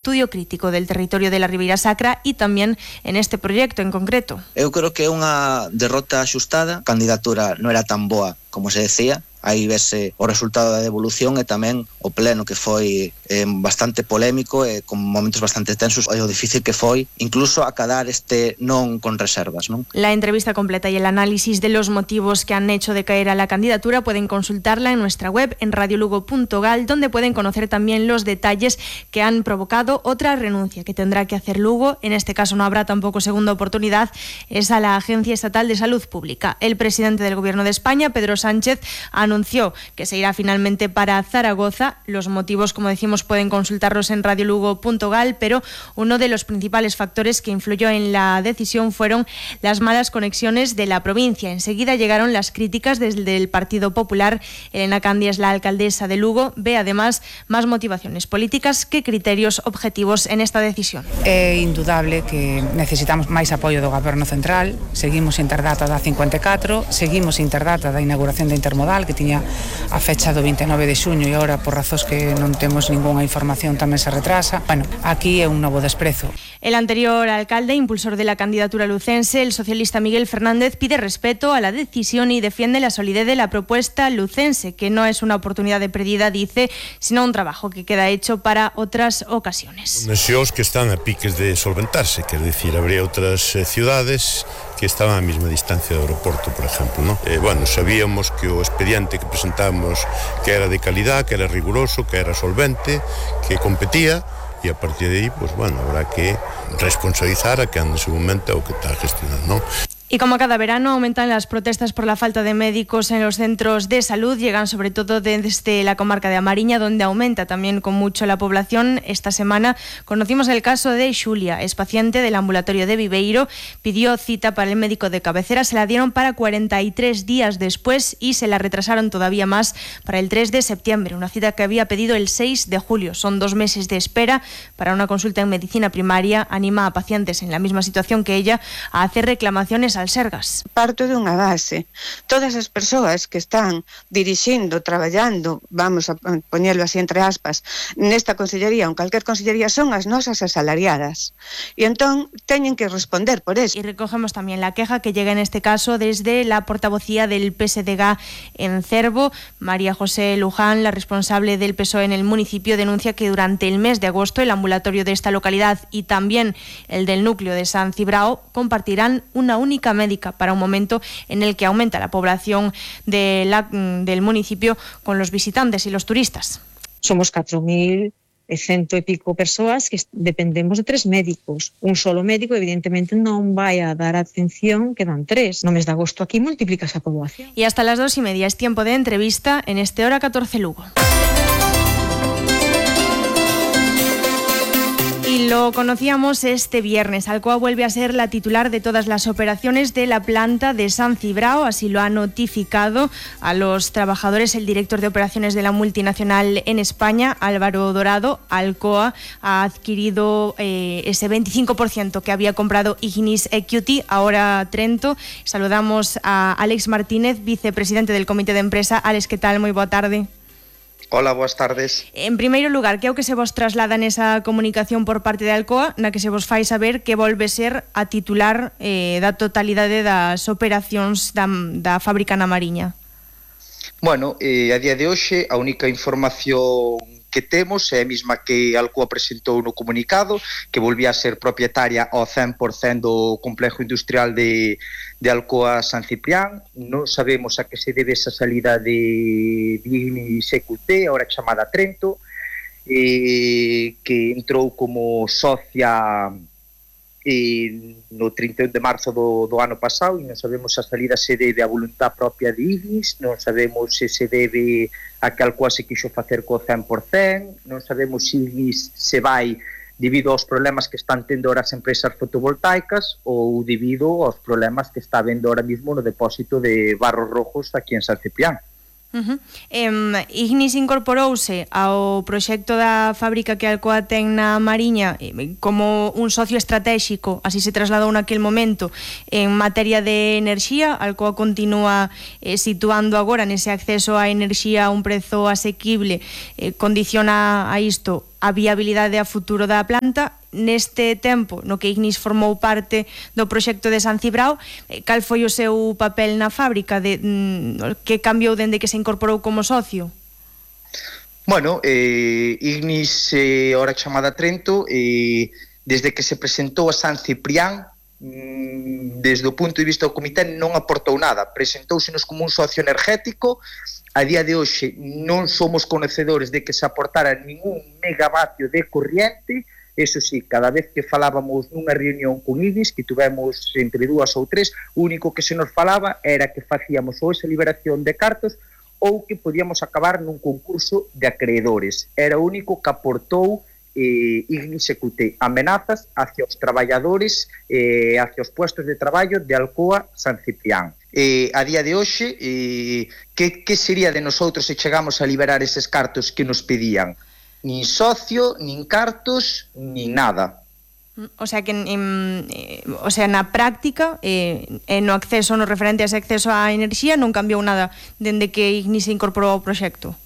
estudio crítico del territorio de la Ribeira Sacra e tamén en este proxecto en concreto. Eu creo que é unha derrota axustada. A candidatura non era tan boa como se decía. Aí vese o resultado da devolución e tamén o pleno, que foi bastante polémico e con momentos bastante tensos, e o difícil que foi incluso acadar este non con reservas, ¿no? La entrevista completa y el análisis de los motivos que han hecho decaer a la candidatura pueden consultarla en nuestra web en radiolugo.gal, donde pueden conocer también los detalles que han provocado otra renuncia que tendrá que hacer Lugo. En este caso no habrá tampoco segunda oportunidad, es a la Agencia Estatal de Salud Pública. El presidente del Gobierno de España, Pedro Sánchez, anunció que se irá finalmente para Zaragoza. Los motivos, como decimos, pueden consultarlos en radiolugo.gal, pero uno de los principales factores que influyó en la decisión fueron las malas conexiones de la provincia. Enseguida llegaron las críticas desde el Partido Popular. Elena Candia, la alcaldesa de Lugo, ve además más motivaciones políticas que criterios objetivos en esta decisión. É indudable que necesitamos máis apoio do Goberno Central. Seguimos sin ter data da 54, seguimos sin ter data da inauguración da Intermodal, que tiña a fecha do 29 de xuño e agora, por razóns que non temos ningunha información, tamén se retrasa. Bueno, aquí é un novo desprezo. El anterior alcalde, impulsor de la candidatura lucense, el socialista Miguel Fernández, pide respeto a la decisión y defiende la solidez de la propuesta lucense, que no es una oportunidad de perdida, dice, sino un trabajo que queda hecho para otras ocasiones. Nacións que están a piques de solventarse, quer decir, habría outras ciudades que estaban a mesma distancia do aeroporto, por exemplo, ¿no? Bueno, sabíamos que o expediente que presentamos que era de calidad, que era riguroso, que era solvente, que competía, e a partir de aí, pues bueno, habrá que responsabilizar a que en su momento o que está gestionando, ¿no? Y como cada verano aumentan las protestas por la falta de médicos en los centros de salud, llegan sobre todo desde la comarca de A Mariña, donde aumenta también con mucho la población. Esta semana conocimos el caso de Xulia, es paciente del ambulatorio de Viveiro, pidió cita para el médico de cabecera, se la dieron para 43 días después y se la retrasaron todavía más para el 3 de septiembre, una cita que había pedido el 6 de julio. Son 2 meses de espera para una consulta en medicina primaria. Anima a pacientes en la misma situación que ella a hacer reclamaciones al Sergas. Parto dunha base. Todas as persoas que están dirixindo, traballando, vamos a poñelo así entre aspas, nesta consellería ou en calquer consellería son as nosas asalariadas. E entón teñen que responder por eso. Y recogemos también la queja que llega en este caso desde la portavocía del PSDG en Cervo. María José Luján, la responsable del PSOE en el municipio, denuncia que durante el mes de agosto el ambulatorio de esta localidad y también el del núcleo de San Cibrao compartirán una única médica para un momento en el que aumenta la población del municipio con los visitantes y los turistas. Somos 4.100 e pico persoas que dependemos de 3 médicos. Un solo médico evidentemente non vai a dar atención que dan 3. No mes de agosto aquí multiplicas a poboación. Y hasta las 2:30 es tiempo de entrevista en este Hora 14 Lugo. Y lo conocíamos este viernes. Alcoa vuelve a ser la titular de todas las operaciones de la planta de San Cibrao. Así lo ha notificado a los trabajadores el director de operaciones de la multinacional en España, Álvaro Dorado. Alcoa ha adquirido ese 25% que había comprado Ignis Equity, ahora Trento. Saludamos a Álex Martínez, vicepresidente del Comité de Empresa. Álex, ¿qué tal? Muy boa tarde. Hola, boas tardes. En primeiro lugar, que é o que se vos traslada nesa comunicación por parte de Alcoa, na que se vos fai saber que volve ser a titular da totalidade das operacións da fábrica na Mariña? Bueno, a día de hoxe a única información que temos é a mesma que Alcoa presentou no comunicado, que volvía a ser propietaria ao 100% do complexo industrial de Alcoa San Ciprián. Non sabemos a que se debe esa salida de Ignis EQT, ahora chamada Trento, que entrou como socia no 31 de marzo do ano pasado, e non sabemos se a salida se debe a voluntad propia de Ignis, non sabemos se se debe a que Alcoa se quixo facer co 100%, non sabemos se Ignis se vai debido aos problemas que están tendo ahora as empresas fotovoltaicas ou debido aos problemas que está habendo ahora mismo no depósito de barros rojos aquí en San Ciprián. Ignis incorporouse ao proxecto da fábrica que Alcoa ten na Mariña como un socio estratégico, así se trasladou naquel momento. En materia de enerxía, Alcoa continúa situando agora nese acceso á enerxía a un prezo asequible. Condiciona a isto a viabilidade a futuro da planta. Neste tempo no que Ignis formou parte do proxecto de San Cibrao, cal foi o seu papel na fábrica? Que cambiou dende que se incorporou como socio? Bueno, Ignis, ora chamada Trento, desde que se presentou a San Ciprián, desde o punto de vista do comité non aportou nada, presentóusenos como un socio energético. A día de hoxe non somos conocedores de que se aportara ningún megavatio de corriente. Eso sí, cada vez que falábamos nunha reunión con Ignis, que tivemos entre 2 ou 3, o único que se nos falaba era que facíamos ou esa liberación de cartos ou que podíamos acabar nun concurso de acreedores. Era o único que aportou Ignis EQT, amenazas hacia os traballadores, hacia os puestos de traballo de Alcoa San Ciprián. A día de hoxe, que sería de nosotros se chegamos a liberar eses cartos que nos pedían? Nin socio, nin cartos, nin nada. O sea que na práctica no acceso, no referente a ese acceso á enerxía non cambiou nada dende que Ignis se incorporou ao proxecto.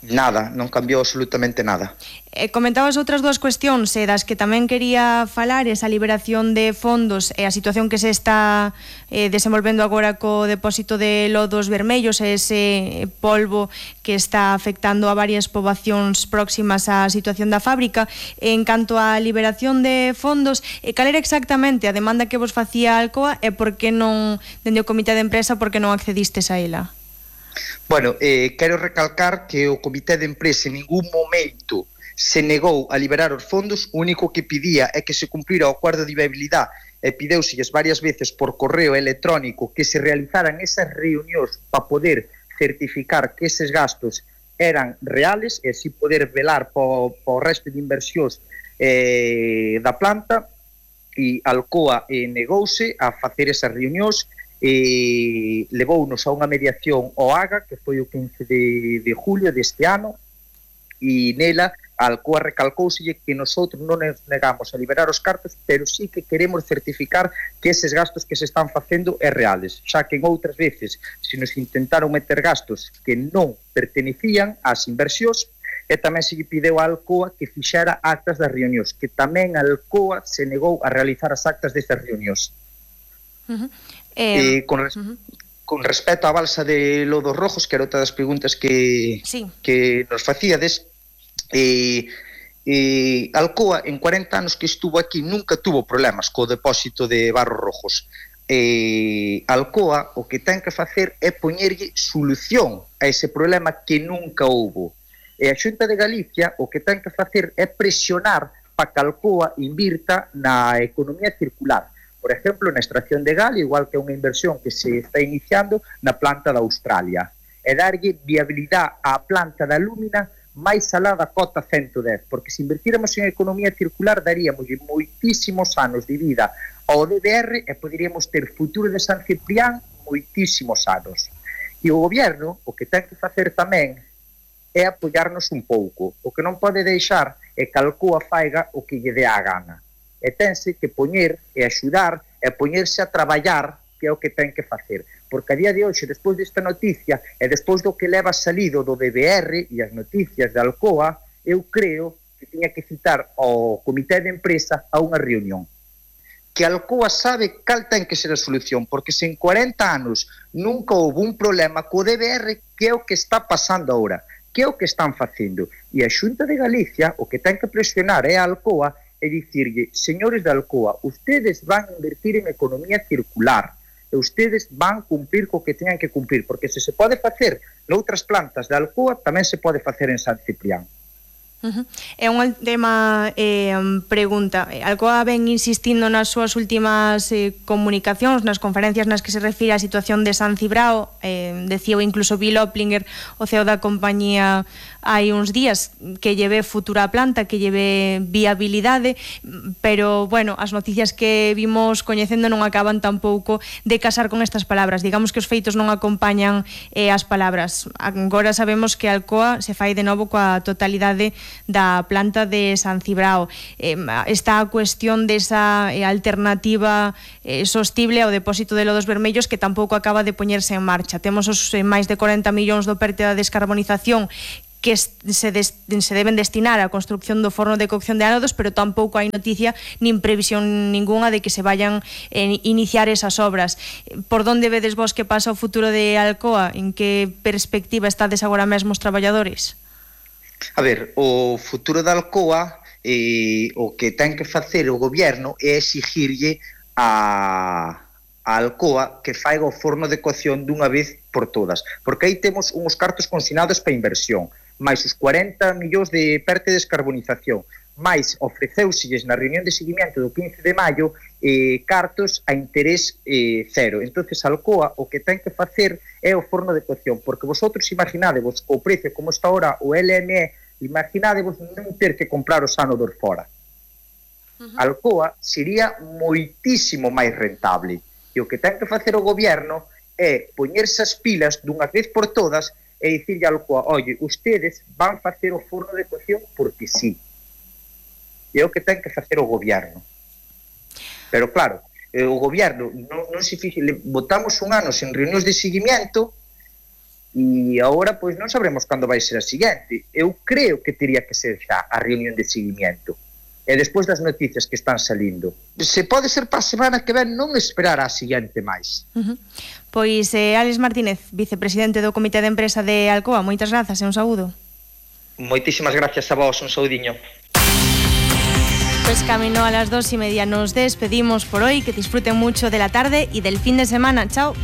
Nada, non cambiou absolutamente nada. Comentabas outras dúas cuestións das que tamén quería falar, esa liberación de fondos e a situación que se está desenvolvendo agora co depósito de lodos vermellos, ese polvo que está afectando a varias poboacións próximas á situación da fábrica. En canto á liberación de fondos, cal era exactamente a demanda que vos facía Alcoa e por que non, dende o comité de empresa, por que non accedistes a ela? Bueno, quero recalcar que o comité de empresa en ningún momento se negou a liberar os fondos. O único que pedía é que se cumplira o acordo de viabilidade e pideuselles varias veces por correo electrónico que se realizaran esas reunións para poder certificar que eses gastos eran reales e así poder velar po resto de inversións da planta, e Alcoa negouse a facer esas reunións. Levounos a unha mediación ao AGA, que foi o 15 de julio deste ano, e nela a Alcoa recalcouselle que nosotros non nos negamos a liberar os cartos, pero sí que queremos certificar que eses gastos que se están facendo é reales, xa que en outras veces se nos intentaron meter gastos que non pertenecían ás inversións, e tamén se lle pideu a Alcoa que fixera actas das reunións, que tamén a Alcoa se negou a realizar as actas destas reunións. Con respecto á balsa de Lodos Rojos, que era outra das preguntas que nos facíades, Alcoa en 40 anos que estuvo aquí nunca tuvo problemas co depósito de barros rojos. Alcoa o que ten que facer é poñerlle solución a ese problema que nunca houbo, e a Xunta de Galicia o que ten que facer é presionar para que Alcoa invirta na economía circular. Por exemplo, na extracción de gal, igual que unha inversión que se está iniciando na planta da Australia, e darlle viabilidade á planta da Lúmina máis alá da cota 110, porque se invertíramos en economía circular daríamos moitísimos anos de vida ao DDR e poderíamos ter futuro de San Ciprián moitísimos anos. E o goberno o que ten que facer tamén é apoiarnos un pouco. O que non pode deixar é que Alcoa faiga o que lle dé a gana. E tense que poñer e axudar e poñerse a traballar, que é o que ten que facer. Porque a día de hoxe, despois desta noticia e despois do que leva salido do DBR e as noticias de Alcoa, eu creo que tiña que citar ao comité de empresa a unha reunión. Que Alcoa sabe cal ten que ser a solución, porque se en 40 anos nunca houve un problema co DBR, que é o que está pasando agora, que é o que están facendo. E a Xunta de Galicia o que ten que presionar é a Alcoa e dicirlle, señores de Alcoa, ustedes van a invertir en economía circular e ustedes van cumprir co que teñan que cumprir, porque se pode facer noutras plantas de Alcoa, tamén se pode facer en San Ciprián. É unha última pregunta. Alcoa ven insistindo nas súas últimas comunicacións, nas conferencias nas que se refire á situación de San Cibrao, decío incluso Bill Oplinger, o CEO da compañía, hai uns días, que lleve futura planta, que lleve viabilidade, pero, bueno, as noticias que vimos coñecendo non acaban tampouco de casar con estas palabras. Digamos que os feitos non acompañan as palabras. Agora sabemos que Alcoa se fai de novo coa totalidade da planta de San Cibrao. Está a cuestión desa alternativa sostible ao depósito de lodos vermellos que tampouco acaba de poñerse en marcha. Temos os máis de 40 millóns do PERTE da descarbonización que se deben destinar á construcción do forno de cocción de ánodos, pero tampouco hai noticia nin previsión ninguna de que se vayan iniciar esas obras. Por onde vedes vos que pasa o futuro de Alcoa? En que perspectiva estades agora mesmo os traballadores? A ver, o futuro da Alcoa, o que ten que facer o goberno é exigirlle a Alcoa que faiga o forno de cocción dunha vez por todas, porque aí temos uns cartos consignados para inversión, máis os 40 millóns de PERTE de descarbonización, máis ofreceuselles na reunión de seguimento do 15 de maio cartos a interés cero. Entonces Alcoa o que ten que facer é o forno de cocción, porque vosotros imaginadevos o precio como está ahora o LME, imaginadevos non ter que comprar os ánodos fora. Alcoa sería moitísimo máis rentable, e o que ten que facer o goberno é poñerse as pilas dunha vez por todas e dicirlle a Alcoa, oye, ustedes van facer o forno de cocción porque sí. E é o que ten que facer o goberno. Pero claro, o goberno non se fixe, botamos un ano sen reunións de seguimento e agora pois non sabremos cando vai ser a seguinte. Eu creo que teria que ser xa a reunión de seguimento. E despois das noticias que están salindo, se pode ser para a semana que ven, non esperar a seguinte máis. Pois Álex Martínez, vicepresidente do Comité de Empresa de Alcoa, moitas grazas e un saúdo. Moitísimas gracias a vos, un saudiño. Pues camino a las 2:30 nos despedimos por hoy, que disfruten mucho de la tarde y del fin de semana. Chao.